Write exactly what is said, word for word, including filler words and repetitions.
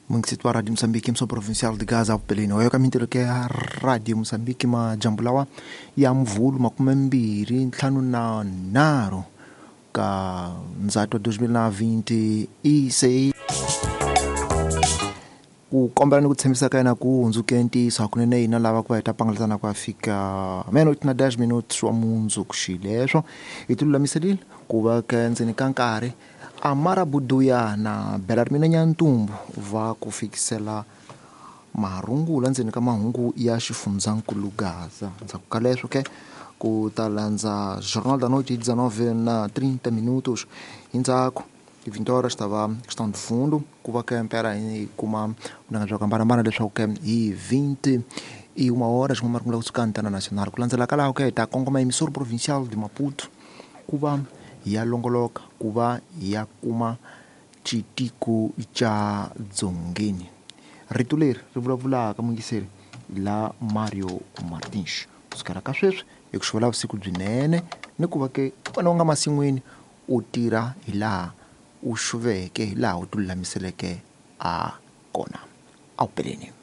Mungisitu wa Radio Mozambique emissão provincial de Gaza upeleni oyo ka mintirho ke ya Radio Mozambique majambu lawa ya mvulu makume mbirhi ntlhanu na nharhu ka ndzhato dois mil na vinte e seis ku kombela ni ku tshembisa ka yena ku hundzuke ntiyiso hakunene hina lava ku va hi ta pangalatana ku ya fika meia-noite na dez minutos wa mundzuku xileswo hi ti lulamiserile ku va ka ndzeni ka nkarhi Amara Buduya na Belarmina Nyantumbu va ku fikisela marungula ndzeni ka mahungu ya xifundzankulu Gaza ndzhaku ka leswo ke ku ta landza Jornal da Noite dezenove na trinta minutos hi ndzhaku vinte horas ta va questão de fundo ku va ke mpela hi kuma vunanga bya ku hambanahambana leswaku ke hi vinte e uma horas kuma marungula kusuka Antena Nacional ku landzela ka laho ke hi ta kongoma emissora provincial de Maputo ku va hi ya longoloka ku va hi ya kuma xitiko xa dzongeni rito leri ri vulavulaka mungiseri la Mario Martins kusukela ka sweswi hi ku xuvela vusiku byinene ni ku va ke wena u nga masin'wini u tirha hi laha u xuveke hi laha u ti lulamiseleke a kona a wu peleni.